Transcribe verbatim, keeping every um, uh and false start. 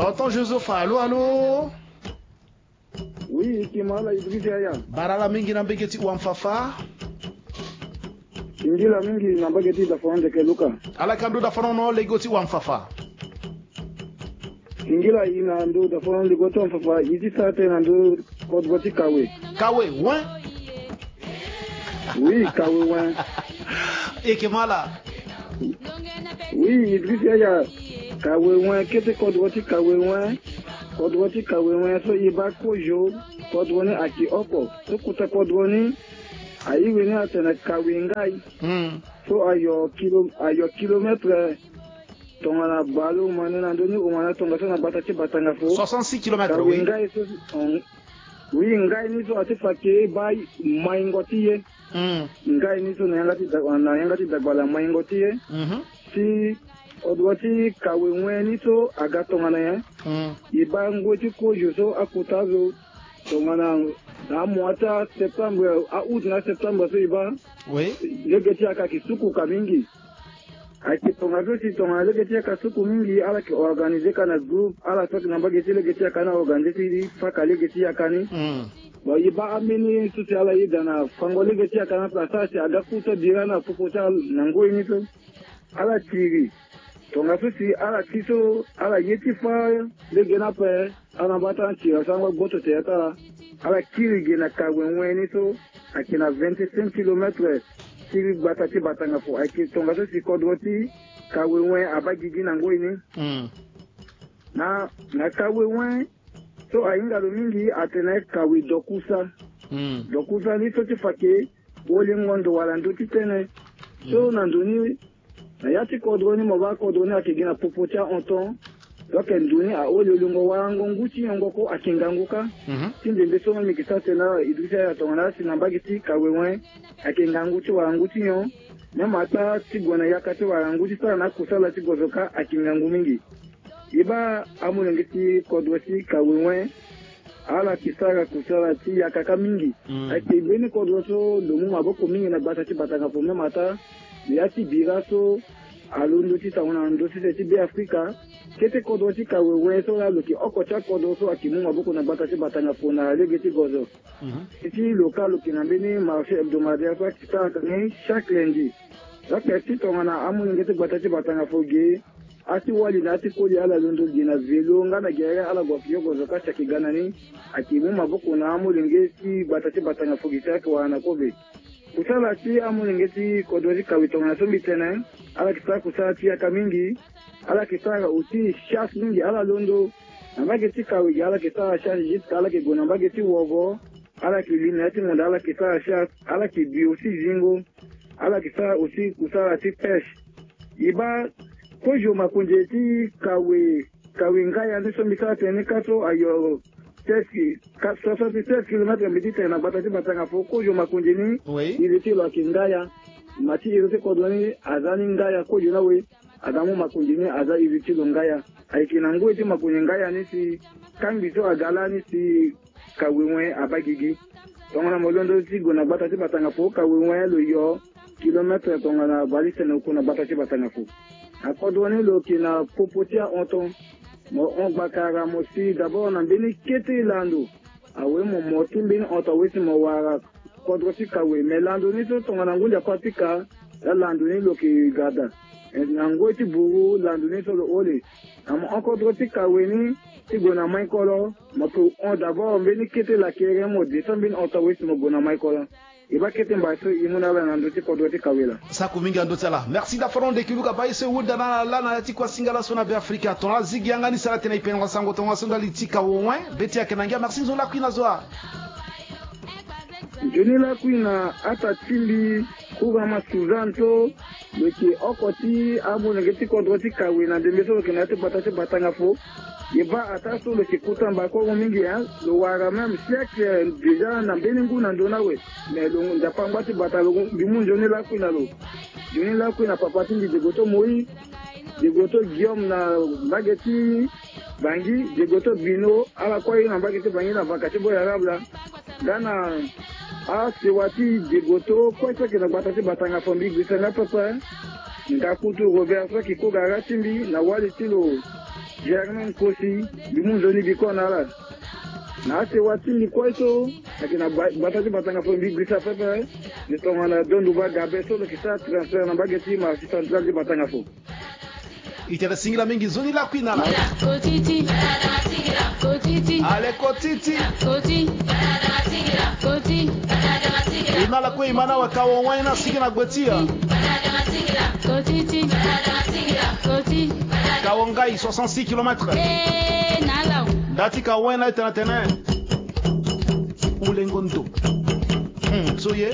Tonton Joseph, allô, allô? Oui, Kimala Idriss Yaya. Bara ala mingi na mbage ti Ouane-Fafa. Singila mingi na mbage ti Dafana ndeke Luka. Ala ka ndö Dafana ono lege ti Ouane-Fafa. Singila i na ndö Dafana lege ti Ouane-Fafa, i ti sara tënë na ndö kodro ti Kawe. Kawe, wen? Oui, Kawe wen. Eke mala. Oui, Idriss Yaya. Kawe wen, kete kodro ti Kawe wen. Kodro ti Kawe wen so i baa kozo, kodro ni ayeke oko. So kota kodro ni, airi ni atene Kawe Ngai. Hmm. So ayo kilo, ayo kilomètre tongana bale omane na ndö ni, omane tongaso na gbata ti Batangafo. Soixante-six kilomètres, Kawe oui. Ngai so, oui, Ngai ni so ati fa ke baa maingo ti ye. Hmm. Ngai ni so na yanga ti da-, na yanga ti dagbala maingo ti ye. Mhm. Si kodro ti Kawe wen ni so aga tongana nyen? Hmm. I baa ngoi ti kozo so akota azo tongana na amois ti aseptembre, a-août na aseptembre so i baa. Oui. Lege ti yaka ayeke suku ka mingi. Ayeke tongaso si tongana lege ti yaka suku mingi, ala yeke organiser ka na groupe, ala so ayeke na mbage ti lege ti yaka ni aorganiser ti paka lege ti yaka ni. Hmm. Bon, i baa ambeni so si ala yeda na fango lege ti yaka ni ape, asara si aga kuta bira na popo ti ala na ngoi ni so. Ala kiri. Tongaso si ala ti so, ala ye ti fâ lege ni ape. Ala na mbata ti ala sango gboto tere ti ala. Ala kiri ge na Kawe wen ni so ayeke na vingt-cinq kilomètres ti gbata ti Batangafo. Ayeke tongaso si kodro ti Kawe wen abaa gigi na ngoi ni. Hmm. Na, na Kawe wen so ahinga lo mingi atene Kawe Dokusa. Hmm. Dokusa ni so ti fa ke wolingo ndo wala ndö ti tënë. So, hmm, na ndo ni, na ya ti kodro ni, mo baa kodro ni ayeke gi na popo ti ahon ton. Donc ndo ni aoli olingo warango ngu ti nyongo ko ayeke ngangu kâ. Mhm. Ti ndembe so mbi yeke sara tene na Idrissa Yaya tongana asi na mbage ti Kawe wen ayeke ngangu ti warango ti nyon. Même ata ti gue na yaka ti warango ti sara na akusala ti gozo kâ ayeke ngangu mingi. I baa amolenge ti kodro ti Kawe wen, ala yeke sara kusala ti yaka kâ mingi. Mm. Ayeke mbeni kodro so lo mu maboko mingi na gbata ti Batangafo, même ata ya ti bira so alondo ti tongana ndo sese ti Beafrika. Kete kodro ti Kawe wen so laa lo yeke oko ti akodro so ayeke mu maboko na gbata ti Batangafo na lege ti gozo. Mhm. Ti lo kâ lo yeke na mbeni marché hebdomadaire so ayeke sara tënë chaque lundi. Ayeke ti tongana amolenge ti gbata ti Batangafo ge, ati wali na ati koli ala londo ge na vélo nga na gere ala gue fio gozo kâ ti ayeke ga na ni. Ayeke mu maboko na amolenge ti gbata ti Batangafo ge ti ayeke wara na kobe. Kusala ti amolenge ti kodro ti Kawe tongana so mbi tene, ala yeke sara kusala ti yaka mingi. Ala yeke sara aussi chasse mingi, ala londo na mbage ti Kawe ge, ala yeke sara chasse jusqu'à ala yeke gue na mbage ti Wogo. Ala yeke li na ya ti ngonda, ala yeke sara chasse, ala yeke bi aussi zingo. Ala yeke sara aussi kusala ti pêche. I baa kozo makonze ti Kawe, Kawe Ngaya ni so mbi sara tënë ni kâ so ayo treize ki-, ka-, soixante-treize kilomètres mbi ti tene na gbata ti Batangafo. Kozo makonze ni, oui, iri ti lo ayeke Ngaya. Ma ti iri ti kodro ni aza ni Ngaya, kozo ni awe. Aga mu makonze ni aza iri ti lo Ngaya. Ayeke na ngoi ti makonze Ngaya ni si kangbi so aga lani si Kawe wen abaa gigi. Tongana mo londo ti gue na gbata ti Batangafo, Kawe wen lo yo kilomètre tongana bale ti sene oku na gbata ti Batangafo. Akodro ni lo yeke na popo ti ahon ton. Mo hon gbakara mo si d'abord na mbeni kete lando. Awe mo mo ti mbeni hon ton awe si mo wara kodro ti Kawe. Me lando ni so tongana ngu ndia kua ti ka, la lando ni lo yeke ga daa. Na ngoi ti buru lando ni so lo hole. Na mo hon kodro ti Kawe ni ti gue na Maikolo, mo yeke hon d'abord mbeni kete lakere, mo descend mbeni hon ton awe si mo gue na Maikolo. E baa kete mbai so e mu na ala na ndö ti kodro ti Kawe laa. Sako mingi na ndö ti ala. Merci da Fernand de Kiluka, baa e so e hunda na ala na ya ti kua singala so na Beafrika. Tongana azigi yanga ni sara tene e pendela sango tongaso ndali ti Kawe wen. Be ti ayeke na ngia. Merci, nzoni lakui na zo wa. Nzoni lakui na ata ti mbi, Kurama Suzanne so lo yeke oko ti amolenge ti kodro ti Kawe na ndembe so lo yeke na ya ti gbata ti Batangafo. E baa ataa so lo yeke kota mbakongo mingi, hein. Lo wara même siècle déjà na mbeni ngu na ndö ni awe. Mais lo nzapa angba ti bata lo, mbi mu nzoni lakui na lo. Nzoni lakui na papa ti mbi Diegoto Moïse, Diegoto Guillaume na mbage ti Bangui, Diegoto Bino, ala kue aye na mbage ti Bangui na vaka ti Boy Arabe laa. Nga na asewa ti Diegoto kue so ayeke na gbata ti Batangafo, mbi gbisa nga pepe. Nga kutu Robert so ayeke koga ra ti mbi na wali ti lo. Germain Kosi, mbi mu nzoni mbi kue na ala. Na asewa ti mbi kue so, ayeke na gba- gbata ti Batanga fo, mbi gbisa pepe. Mbi tongana Donduba Gabe so lo yeke sara transfert na mbage ti marché central ti Batanga fo. Itene singila mingi, nzoni lakui na ala. Kotiti. Kotiti. Ale kotiti. Koti. Koti. E na ala kue e ma na wa kawo wani na sigi na gbe ti ya. Kotiti. Koti. Kawo ngai soixante-six kilomètres. Eh, na ala. Nda ti kawo wani na e tene tene. Ulengo ndo. Hmm, so ye.